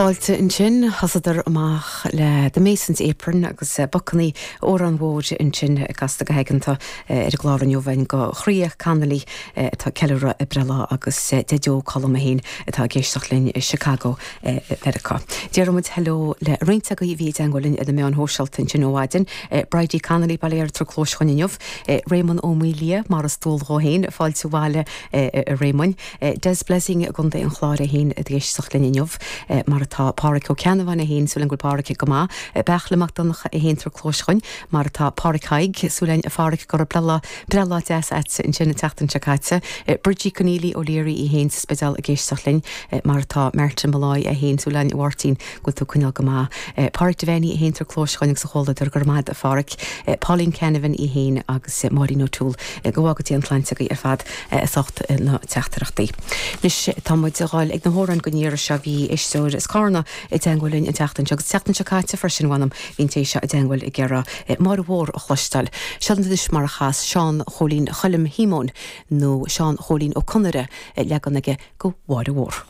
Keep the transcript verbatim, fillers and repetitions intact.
Fáilte ansin thosaíodar amach le The Mason's Apron agus Bucany amhrán mhór ansin casta go haigeanta ar an gclár inniu go Chroía Connolly atá ceiliúradh a breithlá agus Deaideo Colm féin atá ag éisteacht linn i Chicago Mheiriceá. Déarfaimid hello le roinnt agaibh a bhí i dteagmháil linn ar na meáin shóisialta ansin ó mhaidin, Bridie Connolly Baile Átha Clóis chugainn inniu, Raymond Ó Maolia mar is dual dó féin fáilte abhaile a Raymond, Des Blessing i gContae an Chláir féin ag éisteacht linn inniu mar atá Pádraig Ó Ceannabháin féin súil go bhfuil Pádraig go maith, Beachla Mac Donncha é féin tar clóis chugainn mar atá Pádraig Haig súil a Phádraig go raibh breithlá breithlá deas agat ansin an tseachtain seo caite, Bridgie Conneely O'Leary í féin sa Spidéal ag éisteacht linn mar atá Martin Molloy é féin súil a Mháirtín go bhfuil tú coinneáil go maith. Pádraig Devaney é féin tar clóis chugainn agus a chomhluadar go raibh maith a Phádraig, Pauline Canavan í féin agus Máirín O'Toole go bhfága Dia an tsláinte agaibh ar fad as ucht na teachtaireachtaí. Anois tá muid ag dul ag na hamhráin don iarraidh seo bhí éisteoir as Carna i dteagmháil linn an tseachtain seo agus tseachtain seo caite freisin bhanam bhín té seo i dteagmháil ag iarraidh Máire Mhór a chloisteáil. Seo anois mar a chas Seán Chóilín Choilm Shíomóin nó Seán Chóilín Ó Conaire leagan aige go Mháire Mhór.